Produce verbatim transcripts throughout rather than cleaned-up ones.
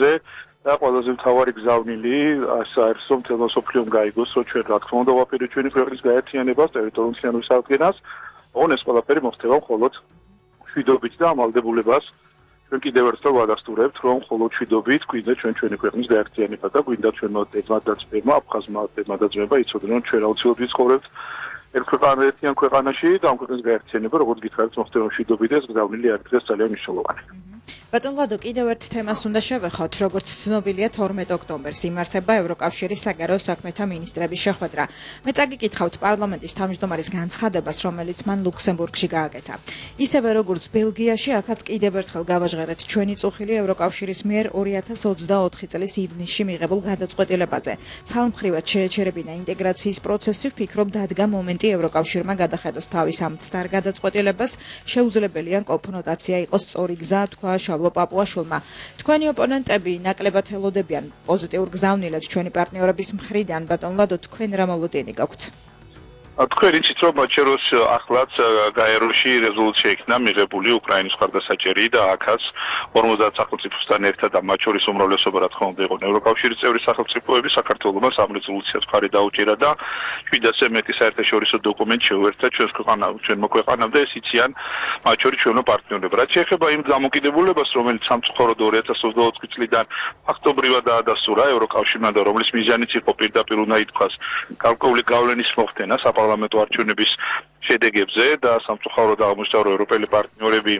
ფონზე და ყველაზე მთავარი გზავნილი საერთო მთელ მსოფლიომ გაიგოს, რომ ჩვენ რა თქმა უნდა ვაპირებთ ჩვენი ქვეყნის გაერთიანებას, ტერიტორიული მთლიანობის აღდგენას, ოღონდ ეს ყველაფერი მოხდება მხოლოდ მშვიდობით და ამალდებულებას. ჩვენ კიდევ ერთხელ ვადასტურებთ, რომ მხოლოდ მშვიდობით გვინდა ჩვენ ჩვენი ქვეყნის გაერთიანება და გვინდა ჩვენმა დედმადაცბებმა, აფხაზმა დედმადაცბებმა იცოდნენ, რომ ჩვენ აუცილებლად ვიცხოვრებთ ერთ ქვეყანაში, ქვეყანაში და ამ ქვეყნის გაერთიანება, როგორც გითხარით, მოხდება მშვიდობით და ეს გზავნილი არის დღეს ძალიან მნიშვნელოვანი. ბატონ ლადო, კიდევ ერთ თემას უნდა შევეხოთ, როგორც ცნობილია თორმეტ ოქტომბერს იმართება ევროკავშირის საგარეო საქმეთა მინისტრების შეხვედრა. მე წაგიკითხავთ პარლამენტის თავმჯდომარის განცხადებას, რომელიც მან ლუქსემბურგში გააკეთა. ისევე როგორც ბელგიაში, აქაც კიდევ ერთხელ გავაჟღერეთ ჩვენი წუხილი ევროკავშირის მიერ ორი ათას ოცდაოთხი წლის ივნისში მიღებულ გადაწყვეტილებაზე. ცალმხრივად შეეჩერებინა ინტეგრაციის პროცესი, ვფიქრობ, დადგა მომენტი ევროკავშირმა გადახედოს თავის ამ ცდარ გადაწყვეტილებას, შეუძლებელია კონფრონტაცია იყოს სწორი გზა, თქვა პაპუაშვილმა. თქვენი ოპონენტები ნაკლებად ელოდებიან პოზიტიურ გზავნილებს ჩვენი პარტნიორების მხრიდან, ბატონ ლადო, თქვენ რა მოლოდინი გაქვთ? თქვენ იცით, რომ მაჩეროს ახლაც გაეროში რეზოლუცია იქნა მიღებული უკრაინის მხარდასაჭერი და აქაც ორმოცდაათ სახელმწიფოსთან ერთად და მათ შორის უმრავლესობა რა თქმა უნდა იყო ევროკავშირის წევრი სახელმწიფოები, საქართველოს ამ რეზოლუციას მხარი დაუჭირა და შვიდასზე მეტი საერთაშორისო დოკუმენტი შეუერთდა ჩვენს ქვეყანამ, ჩვენმა ქვეყანამ და ეს იციან მათ შორის ჩვენო პარტნიორები. რაც შეეხება იმ დამოკიდებულებას, რომელიც სამწუხაროდ ორი ათას ოცდაოთხი წლიდან ფაქტობრივად დაადასტურა ევროკავშირმა და რომლის მიზანიც იყო პირდაპირ უნდა ითქვას გარკვეული გავლენის მოხდენა საპარლამენტო არჩევნების შედეგებზე და სამწუხაროდ აღმოჩნდა, რომ ევროპელი პარტნიორები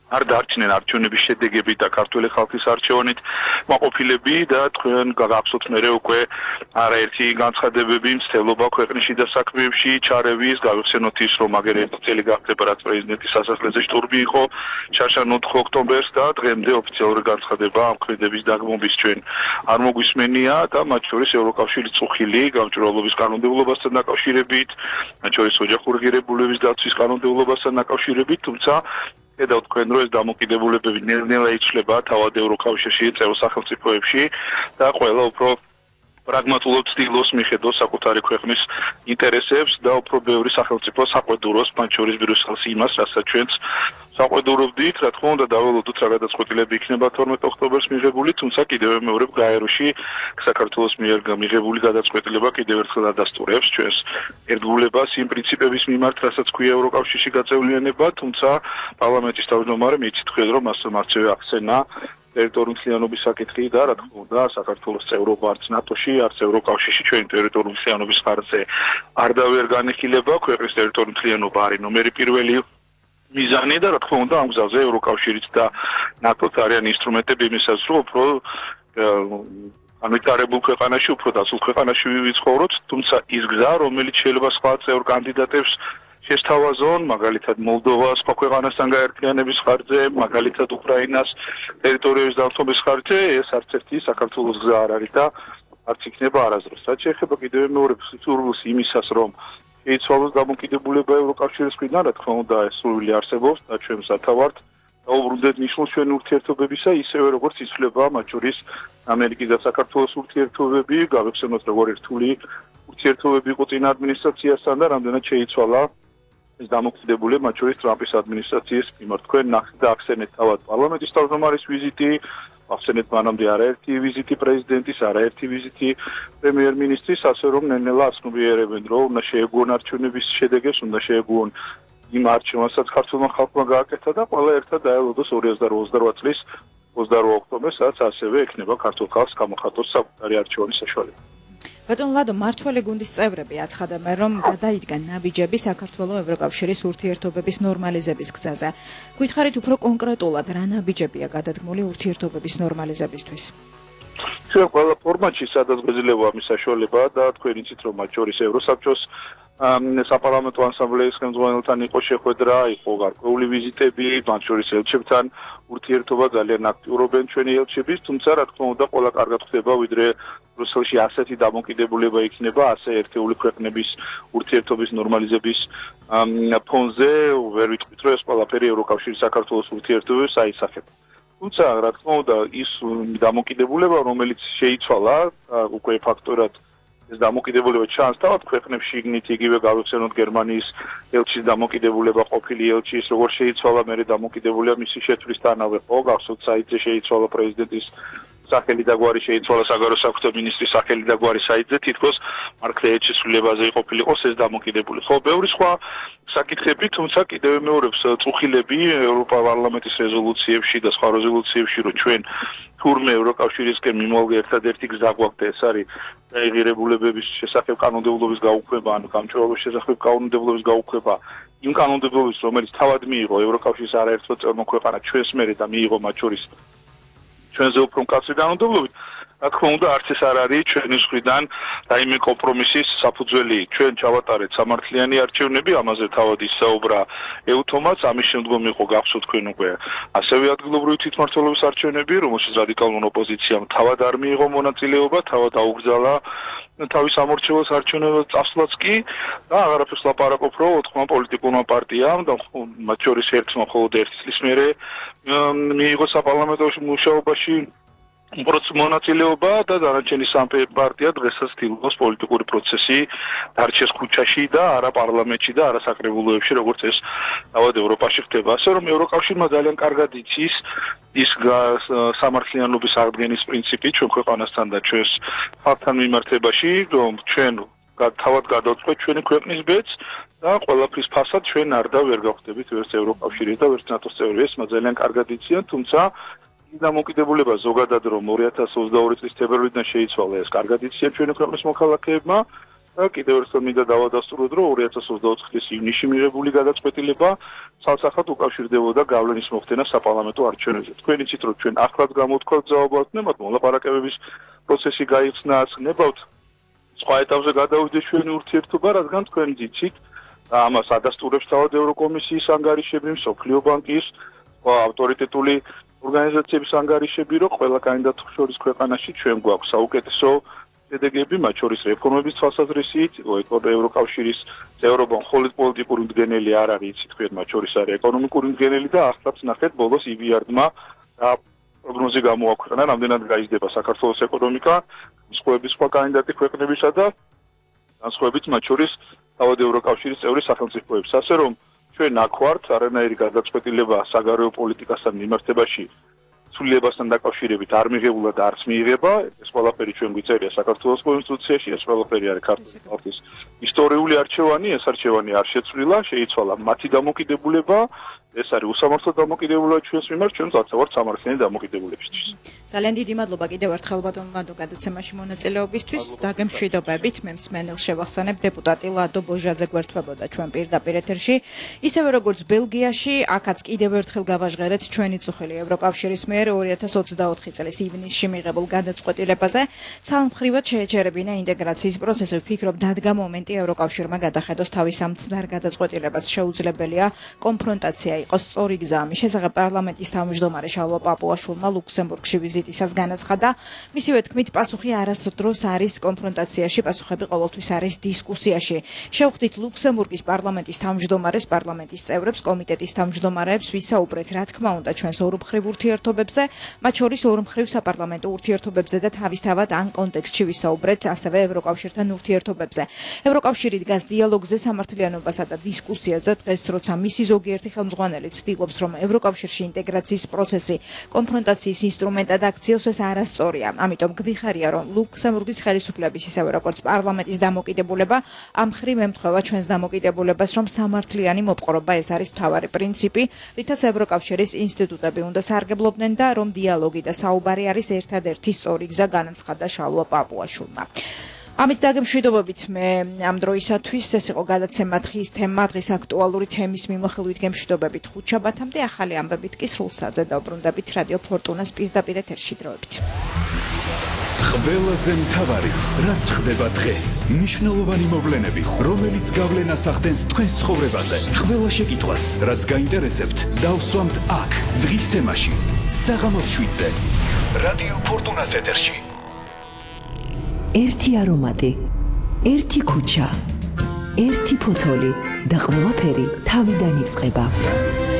არ დარჩნენ არჩევნების შედეგები და ქართული ხალხის არჩევნით მაყოფილები და თქვენ გაგახსოვთ მერე უკვე არაერთი განცხადებები მცდელობა ქვეყნის შიდა საქმეებში ჩარევის, გავიხსენოთ ის, რომ აგერ ერთი წელი გახდება, რაც პრეზიდენტის სასახლეზე შტურმი იყო შარშან ოთხი ოქტომბერს და დღემდე ოფიციალური განცხადება ამ ქმედების დაგმობის ჩვენ არ მოგვისმენია და მათ შორის ევროკავშირის წუხილი გამჭვირვალობის კანონმდებლობასთან დაკავშირებით, მათ შორის ოჯახური ღირებულებების დაცვის კანონმდებლობასთან დაკავშირებით, თუმცა ხედავთ თქვენ, რომ ეს დამოკიდებულებები ნელ-ნელა იცვლება თავად ევროკავშირში, წევრ სახელმწიფოებში და ყველა უფრო პრაგმატულად ცდილობს მიხედოს საკუთარი ქვეყნის ინტერესებს და უფრო ბევრი სახელმწიფო საყვედუროს, მათ შორის ბრიუსელს იმას, რასაც ჩვენც საყვედურობდით, რა თქმა უნდა დაველოდოთ რა გადაწყვეტილება იქნება თორმეტ ოქტომბერს მიღებული, თუმცა კიდევ მეორებ გაეროში საქართველოს მიერ მიღებული გადაწყვეტილება კიდევ ერთხელ ადასტურებს ჩვენს ერთგულებას იმ პრინციპების მიმართ, რასაც ქვია ევროკავშირში გაწევლიანება, თუმცა პარლამენტის თავმჯდომარემ იცით ხედავ, რომ მასწავლე ახსენა ტერიტორიული მთლიანობის საკითხი და რა თქმა უნდა საქართველოს წევრობა არც ნატოში, არც ევროკავშირში ჩვენი ტერიტორიული მთლიანობის ხარჯზე არ დავერ განიხილება, ქვეყნის ტერიტორიული მთლიანობა არის ნომერი პირველი მიზანი და რა თქმა უნდა ამ გზაზე ევროკავშირიც და ნატოც არიან ინსტრუმენტები იმისას, რომ უფრო განვითარებულ ქვეყანაში, უფრო დასულ ქვეყანაში ვიცხოვროთ, თუმცა ის გზა, რომელიც შეიძლება სხვა წევრ კანდიდატებს შესთავაზონ, მაგალითად მოლდოვას სხვა ქვეყანასთან გაერთიანების ხარჯზე, მაგალითად უკრაინას ტერიტორიების დამცველობის ხარჯზე, ეს არც ერთი საქართველოს გზა არ არის და არც იქნება არასდროს. რაც შეეხება კიდევ მეორე სურვილს იმისას, რომ შეიცვალოს დამოკიდებულება ევროკავშირის მხრიდან, რა თქმა უნდა, ეს სურვილი არსებობს და ჩვენ სათავართ დაუბრუნდეთ ნიშნულს ჩვენი ურთიერთობებისა, ისევე როგორც იცვლება მათ შორის ამერიკის და საქართველოს ურთიერთობები, გავიხსენოთ როგორ რთული ურთიერთობები იყო წინა ადმინისტრაციასთან და რამდენად შეიცვალა ეს დამოკიდებულება მათ შორის ტრამპის ადმინისტრაციის მიმართ. თქვენ ნახეთ და ახსენეთ თავად პარლამენტის თავმჯდომარის ვიზიტი, ახსენეთ მანამდე არაერთი ვიზიტი პრეზიდენტის, არაერთი ვიზიტი პრემიერ-მინისტრის, ასე რომ ნელ-ნელა აცნობიერებენ, რომ უნდა შეეგუონ არჩევნების შედეგებს, უნდა შეეგუონ იმ არჩევნებსაც, რაც ქართულმა ხალხმა გააკეთა და ყველა ერთად დაელოდოს ორი ათას ოცდარვა წლის ოცდარვა ოქტომბერს, რაც ასევე ექნება ქართულ ხალხს გამოხატოს საკუთარი არჩევანის საშუალება. ბატონ ლადო, მართველი გუნდის წევრები აცხადებენ, რომ გადაიდგა ნაბიჯები საქართველოს ევროკავშირის ურთიერთობების ნორმალიზების გზაზე. გვითხარით უფრო კონკრეტულად, რა ნაბიჯებია გადადგმული ურთიერთობების ნორმალიზებისთვის? ჩვენ ყველა ფორმატში სადაც გვეძლება მის საშუალება და თქვენ იცით, რომ მათ შორის ევროსაბჭოს საპარლამენტო ასამბლეის ხელმძღვანელთან იყო შეხვედრა, იყო გარკვეული ვიზიტები, მათ შორის ელჩებთან ურთიერთობა ძალიან აქტიურობენ ჩვენი ელჩების, თუმცა რა თქმა უნდა ყველა კარგად ხდება, ვიდრე ბრიუსელში ასეთი დამოკიდებულება იქნება, ასე ერთეული ქვეყნების ურთიერთობის ნორმალიზების ფონზე, ვერ ვიტყვით, რომ ეს ყველაფერი ევროკავშირის საქართველოს ურთიერთობებს აისახება. თუმცა რა თქმა უნდა ის დამოკიდებულება, რომელიც შეიცვალა უკვე ფაქტორად ეს დამოკიდებულება ჩანს თავად ქვეყნებში იგნით იგივე გავიხსენოთ გერმანიის ელჩის დამოკიდებულება ყოფილი ელჩის როგორ შეიცვალა მერე დამოკიდებულება მისი შეცვლისთანავე ხო გახსოვთ საიტზე შეიცვალა პრეზიდენტის სახელი და გვარი შეიცვალა საგარეო საქმეთა მინისტრის სახელი და გვარი საიტზე თითქოს მარკრეეჩის ცვლილებაზე იყოფილიყოს ეს დამოკიდებული. ხო, ბევრი სხვა საკითხები, თუმცა კიდევ მეორებს წუხილები ევროპა პარლამენტის რეზოლუციებში და სხვა რეზოლუციებში, რომ ჩვენ თურმე ევროკავშირისკენ მიმოვალ ერთადერთი გზა გვაქვს და ეს არის ღირებულებების შესახებ კანონმდებლობის გაუქმება, ანუ გამჭვირვალობის შესახებ კანონმდებლობის გაუქმება, იმ კანონმდებლობის, რომელიც თავად მიიღო ევროკავშირის არაერთო წევრ ქვეყანა ჩვენს მერე და მიიღო მათ შორის ჩვენზე უფრო მკაცრი კანონმდებლობით, რა თქმა უნდა, არც ეს არ არის ჩვენი მხრიდან რაიმე კომპრომისის საფუძველი. ჩვენ ჩავატარეთ სამართლიანი არჩევნები, ამაზე თავად ისაუბრა ეუთომაც, ამის შემდგომ იყო გახსოვთ თქვენ უკვე ასევე ადგილობრივი თვითმმართველობის არჩევნები, რომელშიც რადიკალურ ოპოზიციამ თავად არ მიიღო მონაწილეობა, თავად აუგზავნა თავის ამორჩევას არჩევნებად წასვლაც კი და აღარაფერს ლაპარაკობ, რომ ოთხმა პოლიტიკურმა პარტიამ და მათ შორის ერთმა მხოლოდ ერთი წლის მერე მიიღო საპარლამენტო მუშაობაში უბრალოდ მონაწილეობა და დანარჩენი სამ პარტია დღესაც ცდილობს პოლიტიკური პროცესი დარჩეს ქუჩაში და არა პარლამენტში და არა საკრებულოებში, როგორც ეს თავად ევროპაში ხდება. ასე რომ ევროკავშირმა ძალიან კარგად იცის ის სამართლიანობის აღდგენის პრინციპი ჩვენ ქვეყანასთან და ჩვენს ხალხთან მიმართებაში, რომ ჩვენ თავად გადავწყვეტ ჩვენი ქვეყნის ბედს და ყველაფრის ფასად ჩვენ არ და ვერ გავხდებით ვერც ევროკავშირის და ვერც ნატოს წევრი. ეს ძალიან კარგად იციან, თუმცა დამოკიდებულება ზოგადად რომ ორი ათას ოცდაორი წლის თებერვლიდან შეიცვალა ეს კარგად იციან ჩვენი ქვეყნის მოქალაქეებმა და კიდევ ერთხელ მინდა დავადასტუროთ რომ ორი ათას ოცდაოთხ წლის ივნისში მიღებული გადაწყვეტილება ცალსახად უკავშირდებოდა გავლენის მოხდენა საპარლამენტო არჩევნებზე. თქვენ იცით რომ ჩვენ ახლად გამოვთქვათ ძალაუფლებას, მოლაპარაკებების პროცესი გაიხსნა, აცნებავთ სხვა ეტაპზე გადავიდეს ჩვენი ურთიერთობა, რადგან თქვენ იცით და ამას ადასტურებს თავად ევროკომისიის ანგარიშები, მსოფლიო ბანკის ავტორიტეტული ორგანიზაციების ანგარიშები, რომ ყველა კანდიდატის შორის ქვეყანაში ჩვენ გვაქვს საუკეთესო შედეგები, მათ შორის რეფორმების თვალსაზრისით, ევროკავშირის წევრობა მხოლოდ პოლიტიკური მდგენელი არ არის, იცით თქვენ, მათ შორის არის ეკონომიკური მდგენელი და ახლაც ნახეთ ბოლოს ი ბი არ-დმა რა პროგნოზი გამოაქვეყნა, რამდენად გაიზრდება საქართველოს ეკონომიკა, სხვების სხვა კანდიდატი ქვეყნებისა და განსხვავებით მათ შორის თავად ევროკავშირის წევრი სახელმწიფოებს. ასე რომ ჩვენ აქ ვართ, არანაირი გადაწყვეტილება საგარეო პოლიტიკასთან მიმართებაში ცვლილებასთან დაკავშირებით არ მიღებულა და არც მიიღება. ეს ყველაფერი ჩვენ გვიწერია საქართველოს კონსტიტუციაში, ეს ყველაფერი არის ქართული ხალხის ისტორიული არჩევანი, ეს არჩევანი არ შეცვლილა, შეიცვალა მათი დამოკიდებულება, ეს არის უსამართლო დამოკიდებულება ჩვენს მიმართ, ჩვენ ვართ სამართლიანი დამოკიდებულებისთვის. ძალიან დიდი მადლობა კიდევ ერთხელ ბატონ ლადო გადაცემაში მონაწილეობისთვის. დაგემშვიდობებით, მე მსმენელს შევახსენებ, დეპუტატი ლადო ბოჟაძე გვერდთვებოდა ჩვენ პირდაპირ ეთერში. ისევე როგორც ბელგიაში, აქაც კიდევ ერთხელ გავაჟღერეთ ჩვენი წუხილი ევროკავშირის მიერ ორი ათას ოცდაოთხი წლის ივნისში მიღებულ გადაწყვეტილებაზე. ცალმხრივად შეეჩერებინა ინტეგრაციის პროცესი. ვფიქრობ, დადგა მომენტი ევროკავშირმა გადახედოს თავის ამ ცდარ გადაწყვეტილებას. შეუძლებელია კონფრონტაცია იყოს სწორი გზა. ამის შესახებ პარლამენტის თავმჯდომარე შალვა პაპუაშვილმა ლუქსემბურგში ვიზიტისას განაცხადა. მისივე თქმით, პასუხი არასდროს არის კონფრონტაციაში, პასუხები ყოველთვის არის დისკუსიაში. შევხვდით ლუქსემბურგის პარლამენტის თავმჯდომარეს, პარლამენტის წევრებს, კომიტეტის თავმჯდომარეებს, ვისაუბრეთ, რა თქმა უნდა, ჩვენს ორმხრივ ურთიერთობებზე, მათ შორის ორმხრივ საპარლამენტო ურთიერთობებზე და თავისთავად ამ კონტექსტში ვისაუბრეთ ასევე ევროკავშირთან ურთიერთობებზე. ევროკავშირი დგას დიალოგზე, სამართლიანობასა და დისკუსიაზე. დღეს, როცა მისი ზოგიერთი ხელმძღვანელი ცდილობს, რომ ევროკავშირში ინტეგრაციის პროცესი კონფრონტაციის ინსტრუმენტად აქციოს, ეს არასწორია. ამიტომ გვიხარია, რომ ლუქსემბურგის ხელისუფლების ისევე როგორც პარლამენტის დამოკიდებულება ამ მხრივ ემთხვევა ჩვენს დამოკიდებულებას, რომ სამართლიანი მოპყრობა ეს არის მთავარი პრინციპი, რითაც ევროკავშირის ინსტიტუტები უნდა სარგებლობდნენ და რომ დიალოგი და საუბარი არის ერთადერთი სწორი გზა, განაცხადა შალვა პაპუაშვილმა. ამით დაგემშვიდობებით მე ამ დროისათვის. ეს იყო გადაცემა დღის თემა, დღის აქტუალური თემის მიმოხილვით გემშვიდობებით ხუთშაბათამდე. ახალი ამბებით კი სრულსაძე დავბრუნდებით რადიო ფორტუნას პირდაპირ ეთერში დროებით. ყველაზე მთავარი, რაც ხდება დღეს, მნიშვნელოვანი მოვლენები, რომელიც გავლენას ახდენს თქვენს ცხოვრებაზე. ყველა შეკითხვას, რაც გაინტერესებთ, დავსვამთ აქ, დღის თემაში, საღამოს შვიდზე, რადიო ფორტუნას ეთერში. ერთი არომატი, ერთი ქუჩა, ერთი ფოთოლი და ყველაფერი თავიდან იწყება.